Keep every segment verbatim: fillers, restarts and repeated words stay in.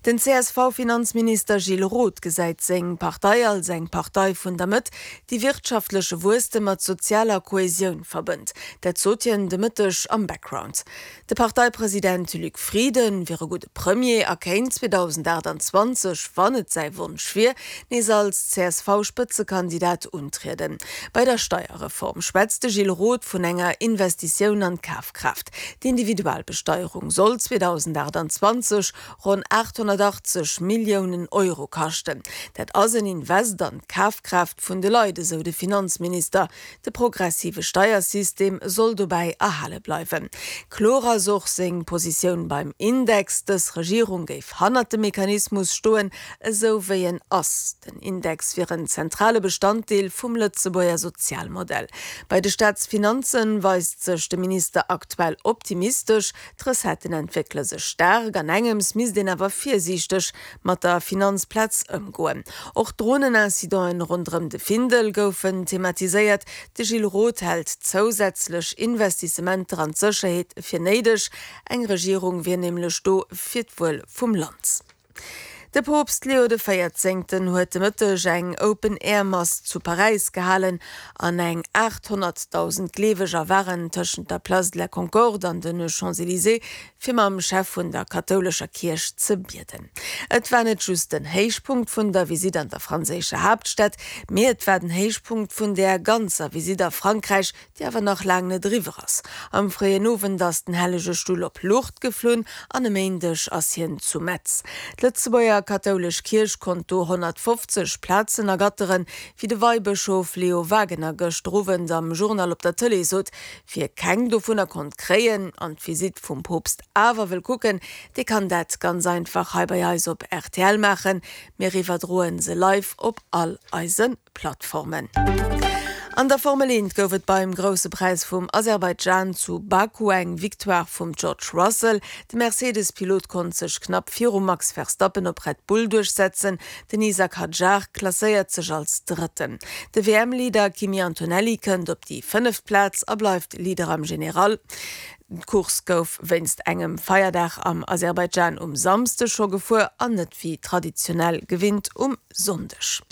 Den C S V-Finanzminister Gilles Roth gesäit seng Partei als eng Partei vun der Mëtt, déi wirtschaftleche Wuesstem mat sozialer Kohesioun verbënnt. Dat sot hien de Mëtteg am Background. De Parteipresident Luc Frieden wier e gudde Premier a kéint zweedausendaachtanzwanzeg, wann et säi Wonsch wier, nees als C S V-Spëtzekandidat untrieden. Bei der Steierreform schwätzt de Gilles Roth vun enger Investitioun an d'Kafkraaft. D'Individualbesteierung soll zweedausendaachtanzwanzeg ronn aathonnertachtzeg Milliounen Euro kaschten. Dat ass en Invest an d'Kafkraaft vun de Leit, esou de Finanzminister. De progressive Steiersystem soll dobäi erhale bleiwen. Kloer ass och seng Positioun beim Index, Dës Regierung géif hannert dem Mechanismus stoen, esou wéi en ass. Den Index wier en zentrale Bestanddeel vum Lëtzebuerger Sozialmodell. Bei de Staatsfinanzen weist sech de Minister aktuell optimistesch, D'Recetten entwéckele sech staark, an engems misst een awer virsiichteg mat der Finanzplaz ëmgoen. Och d'Dronenincidenten ronderëm de Findel goufen thematiséiert. De Gilles Roth hält zousätzlech Investissementer an d'Sécherheet fir néideg. Eng Regierung wier nämlech do fir d'Wuel vum Land. De Poopst Leo de Véierzéngten huet de Mëtteg eng Open-Air-Mass zu Paräis gehalen an eng aathonnertdausend Gleeweger waren tëschent der Place de la Concorde an de Champs-Élysées, fir mam Chef vun der kathoulescher Kierch ze bieden. Et war net just den Héichpunkt vun der Visitt an der franséischer Haaptstad, mee et war den Héichpunkt vun der ganzer Visitt a Frankräich, déi awer nach laang net eriwwer ass. Am fréien Owend ass den Hellege Stull op Lourdes geflunn an e Méindeg ass hien zu Metz. D'Lëtzebuerger kathoulesch Kierch konnt do honnertfofzeg Plazen ergatteren, wéi de Weibëschof Leo Wagener gëschter Owend am Journal op der Tëlee sot. Wie keng dovunner konnt kréien an d'Visitt vum Poopst awer wëll kucken, dee kann dat ganz einfach hei bei eis op R T L maachen. Mir iwwerdroen se live op all eise Plattformen. An der Formel eent gouf et beim Grousse Präis vum Aserbaidschan zu Baku eng Victoire vum George Russell. De Mercedes-Pilot konnt sech knapp virum Max Verstappen op Red Bull duerchsetzen. Den Isack Hadjar klasséiert sech als Drëtten. De W M-Leader Kimi Antonelli kënnt op déi fënneft Plaz a bleift Leader am General. D'Course gouf wéinst engem Feierdag am Aserbaidschan um Samschdeg scho gefuer an net wéi traditionell gewinnt um Sonndeg.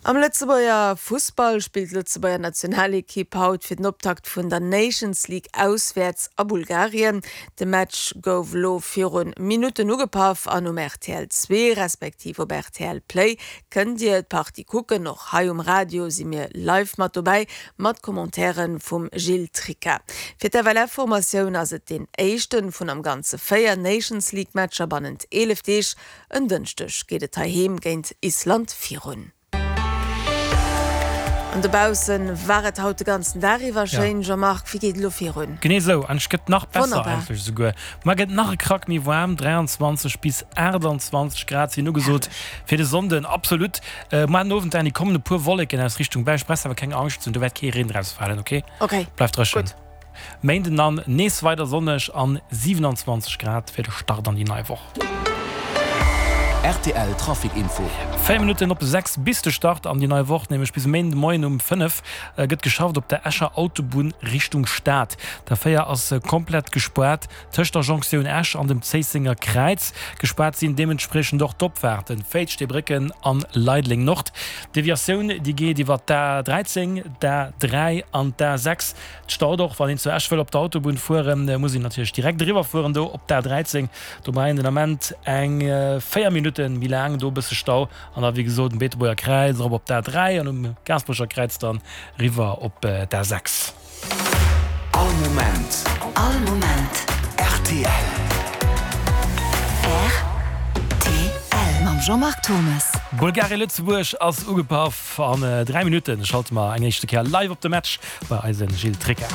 Am Lëtzebuerger Fussball spillt d'Lëtzebuerger Nationalekipp haut fir den Optakt vun der Nations League auswäerts a Bulgarien. De Match gouf lo viru Minutten ugepaff an um R T L zwee respektiv op R T L Play kënnt Dir d'Partie kucken. Och hei um Radio si mir live mat dobäi mat Commentairen vum Gilles Tricca. Fir d'F L F-Formatioun ass et den éischte vun am Ganze véier Nations League Matcher bannent eelef Deeg. En Dënschdeg geet et heiheem géint Island virun. An dobausse war et haut de ganzen Dag iwwer schéin. Jean-Marc, wéi geet et lo virun? Genee sou, an et gëtt nach besser. Wonnerbar. Eigentlech souguer. Mar gëtt nach e Krack méi waarm, dräianzwanzeg bis aachtanzwanzeg Grad sinn ugesot fir de Sonnden. Absolut. Äh, mar den Owend dann kommen e puer Wolleken aus Richtung Belsch, brauchs awer keng Angscht ze hunn, do wäert kee Reen draus falen, okay? Okay. Bleift dréchen. Gutt. Méinden dann nees weider sonneg an siewenanzwanzeg Grad fir de Start an déi nei Woch. R T L Trafic Info. Véier Minutten op sechs bis de Start an déi nei Woch, nämlech bis e Méinden de Moien um fënnef, gëtt geschafft op der Escher Autobunn Richtung Stad. D'A véier ass komplett gespaart tëscht der Jonktioun Esch an dem Zéissenger Kräiz. Gespaart sinn deementspriechend och d'Opfaarten Féiz, Steebrécken an Leideleng Nord. D'Deviatioun déi geet iwwer d'A dräizéng, d'A dräi an d'A sechs. Et staut och, wann een zu Esch wëll op d'Autobunn fueren, muss een natierlech direkt eriwwer fueren do op d'A dräizéng. Do brauch een den Ament eng véier Minutte méi laang, do e bësse Stau. An da wéi gesot um Beetebuerger Kräiz erop op d'A dräi an um Gaasperecher Kräiz dann eriwwer op d'A sechs. All Moment. All Moment. R T L. R T L mam Jean-Marc Thomas. Bulgarien-Lëtzebuerg ass ugepaff. An dräi Minutte schalte mer eng éischte Kéier live op de Match bei eise Gilles Tricca.